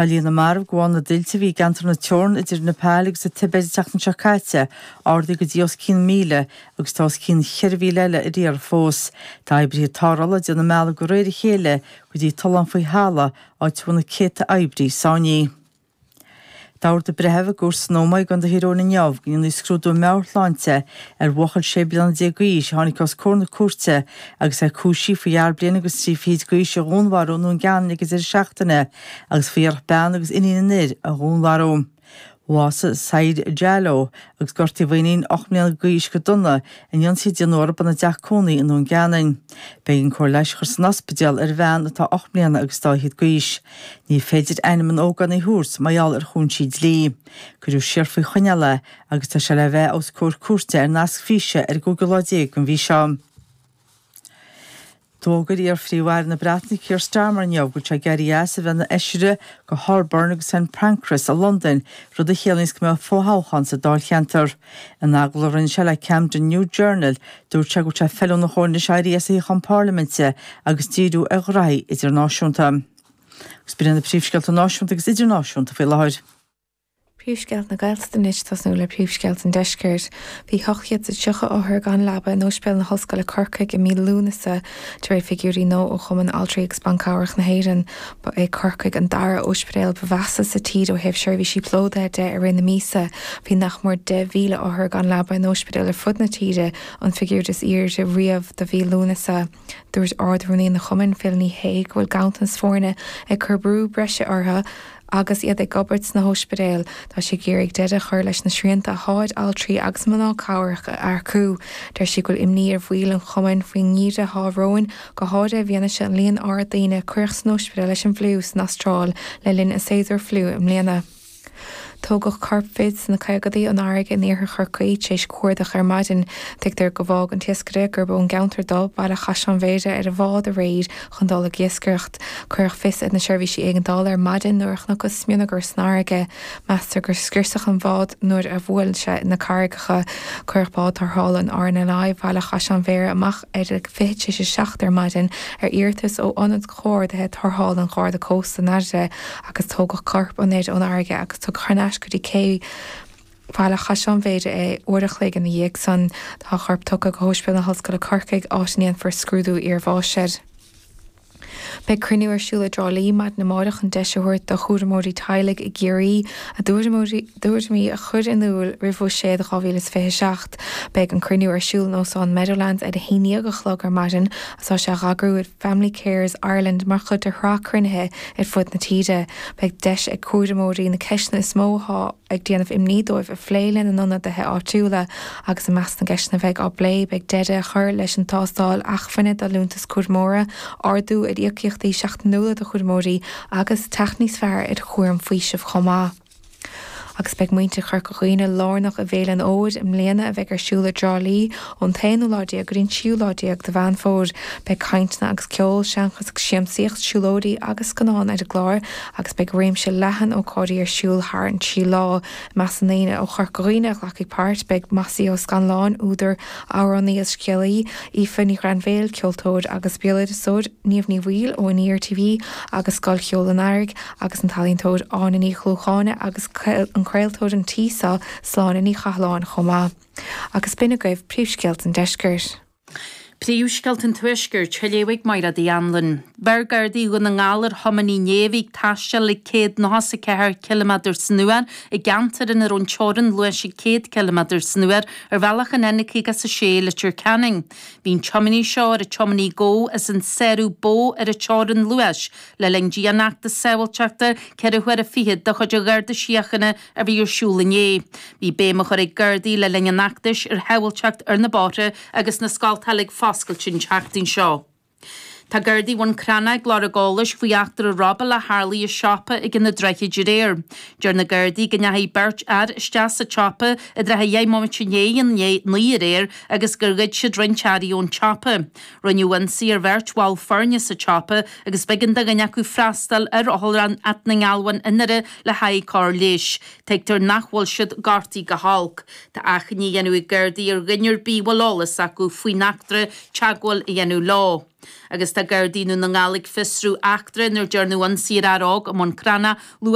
Tá líon na marbh de bharr na dtuilte a bhí i gceantar na teorann idir Nepal agus an Tibet an tseachtain seo caite ardaithe go dtí os cionn 1,000 agus tá os cionn 4,000 eile ar iarraidh fós. Tá oibrithe tarrthála ag déanamh a mbealaigh de réir a chéile go dtí tollán faoi thalamh, áit a bhfuil na céadta oibrí sáinnithe. D'ordaigh breitheamh i gcúirt san Ómaigh i gContae Thír Eoghain inniu go ndéanfaí scrúdú meabhairshláinte ar bhuachaill 16 bliana d'aois a tháinig os comhair na cúirte agus é cúisithe faoi fhear bliain agus trí fichid d'aois a dhúnmharú i nDún Geanainn ag an deireadh seachtaine agus faoi iarracht bean agus iníon an fhir a dhúnmharú. Bhásaigh Said Jallow agus gortaíodh a iníon 8 mbliana d'aois go dona in ionsaí a déanadh orthu ina dteach cónaí i nDún Geanainn. B'éigean cóir leighis a chur san ospidéal ar an bhean atá 8 mbliana agus dá fhichid d'aois. Ní féidir ainm an ógánaigh a thabhairt mar gheall ar chúinsí dlí. Cuireadh siar faoi choinneáil é agus tá sé le bheith os comhair cúirte ar nasc físe ar an gcúigiú lá déag den mhí seo. D'fhógair iar-Phríomh-Aire na Breataine Keir Starmer inniu go bhfuil sé ag éirí as a bheith ina fheisire do Holborn agus St Pancras i Londain, rud a chiallaíonns go mbeidh fo-thoghchán sa dáilcheantar. In agallamh a rinne sé le Camden New Journal, dúirt sé go bhfuil sé feiliúnach dhó anois éirí as a shuíochán parlaiminte agus díriú ar ghraithí idirnáisiúnta. Agus b'in iad na príomhscéalta náisiúnta agus idirnáisiúnta faoi láthair. Príomhscéalta na Gaeltachta anois, tosnú le príomhscéalta an Deiscirt. Bhí 830 othar gan leaba in Ospidéal na hOllscoile Corcaigh i mí Lúnasa, de réir figiúirí nua ó Chumann Altraí agus Ban Cabhrach na hÉireann. Ba é Corcaigh an dara ospidéal ba mheasa sa tír ó thaobh seirbhísí plódaithe de i rith na míosa. Bhí nach mór 10,000 othar gan leaba in ospidéil ar fud na tíre, an figiúr is airde riamh do mhí Lúnasa. Dúirt Ard-Rúnaí an Chumainn, Phil Ní Sheaghdha, go bhfuil ganntanas foirne ag cur brú breise orthu, Agus iad ag obair sna hóispidéil, tá sí ag iarraidh deireadh a chur leis na srianta atá ar altraí agus mná cabhrach a earcú. Deir sí go bhfuil imní ar bhaill an chumainn faoin ngeimhreadh atá romhainn, go háirithe i bhfianaise an líon ard daoine a cuireadh san ospidéal leis an bhfliú san Astráil le linn an séasúr fliú i mbliana. Tógadh corp fir sna caogaidí ón fharraige in iarthar Chorcaí tar éis cuardach ar maidin. Tuigtear gur bhágh an t-iascaire, gurb ón gceantar dó, Baile Chaisleáin Bhéarra, ar an bhád aréir chun dul ag iascaireacht. Cuireadh fios ar na seirbhísí éigeandála ar maidin nuair a chonacthas smionagar san fharraige. Meastar gur scriosadh an bhád nuair a bhuail sé na carraigeacha. Cuireadh bád tarrthála an RNLI Bhaile Chaisleáin Bhéarra amach ar a 6:40 ar maidin ar iarratas ó Ionad Comhordaithe Tarrthála an Gharda Cósta i nDoire agus tógadh corp an fhir ón fharraige agus tugadh thar n-ais go dtí cé Bhaile Chaisleáin Bhéarra é uair a chloig ina dhiaidh san. Tá a chorp tugtha go hOspidéal na hOllscoile Corcaigh, áit a ndéanfar scrúdú iarbháis air. Beidh cruinniú ar siúl i dTrá Lí maidin amárach chun deis a thabhairt do chúramóirí teaghlaigh i gCiarraí a dtuairimí a chur in iúl roimh Bhuiséad 2027. Beidh an cruinniú ar siúl in Óstán Meadowlands ar a haon dhéag a chlog ar maidin agus tá sé á eagrú ag Family Carers Ireland mar chuid de shraith cruinnithe ar fud na tíre. Beidh deis ag cúramóirí na ceisteanna is mó atá ag déanamh imní dóibh a phlé lena n-ionadaithe áitiúla agus i measc na gceisteanna a bheidh á bplé beidh deireadh a chur leis an tástáil acmhainne do liúntas cúramóra, ardú ar íocaíochtaí seachtainiúla do chúramóirí agus teacht níos fearr ar chúram faoisimh chomh maith. Agus beidh muintir Chorca Dhuibhne lárnach i bhFéile an Fhómhair i mbliana a bheidh ar siúl i dTrá Lí ón t-aonú lá déag go dtí an tríú lá déag de Mheán Fómhair. Beidh cainteanna agus ceol, seanchas agus siamsaíocht, siúlóidí agus scannáin ar an gclár agus beidh réimse leathan ócáidí ar siúl thar an trí lá. I measc na ndaoine ó Chorca Dhuibhne a ghlacfaidh páirt, beidh Mossie Ó Scanláin, údar, amhránaí agus scéalaí, Aoife Ní Ghrainbhéil, ceoltóir agus béaloideasóir, Niamh Ní Bhaoill ó Aniar TV agus Scoil Cheoil an Earraigh, agus an t-ealaíontóir Áine Ní Ghlúcháin agus an craoltóir an tí seo, Sláine Ní Chathalláin chomh maith. Agus b'in agaibh príomhscéalta an deiscirt. Príomhscéalta an Tuaiscirt, á léamh ag Máire Uí Anluain. Bheir Gardaí Dhún na nGall ar thiománaí inné a bhí ag taisteal ag 194 ciliméadar san uair i gceantar ina raibh an teorainn luais ag 100 ciliméadar san uair ar bhealach an N56 i Leitir Ceanainn. Bhí an tiománaí seo ar an tiománaí go as an sárú ba mhó ar an teorainn luais le linn dianfheachtas sábháilteachta 4 huaire fichead de chuid an Gharda Síochána a bhí ar siúl inné. Bhí béim á chur ag Gardaí le linn an fheachtais ar shábháilteacht ar na bóithre agus na scoltacha ag foscailt an tseachtain seo. Tá Gardaí Bhun Cranncha ag lorg eolais faoi eachtra robála a tharlaigh i siopa ag na Droichid aréir. Deir na Gardaí go ndeachaigh beirt fhear isteach sa tsiopa i dtrátha dheich mbomaite i ndiaidh a naoi aréir agus gur ghoid siad roinnt earraí ón tsiopa. Rinneadh ionsaí ar bheirt bhall foirne sa tsiopa agus b'éigean do dhuine acu freastal ar Otharlann Áth na nGealbhán i nDoire le haghaidh cóir leighis. Tuigtear nach bhfuil siad gortaithe go holc. Tá achainí á dhéanamh ag Gardaí ar dhuine ar bith a bhfuil eolas acu faoin eachtra teagmháil a dhéanamh leo. Agus tá Gardaí Dhún na nGall ag fiosrú eachtra inar dearnadh ionsaí ar fhear óg i mBun Cranncha luath.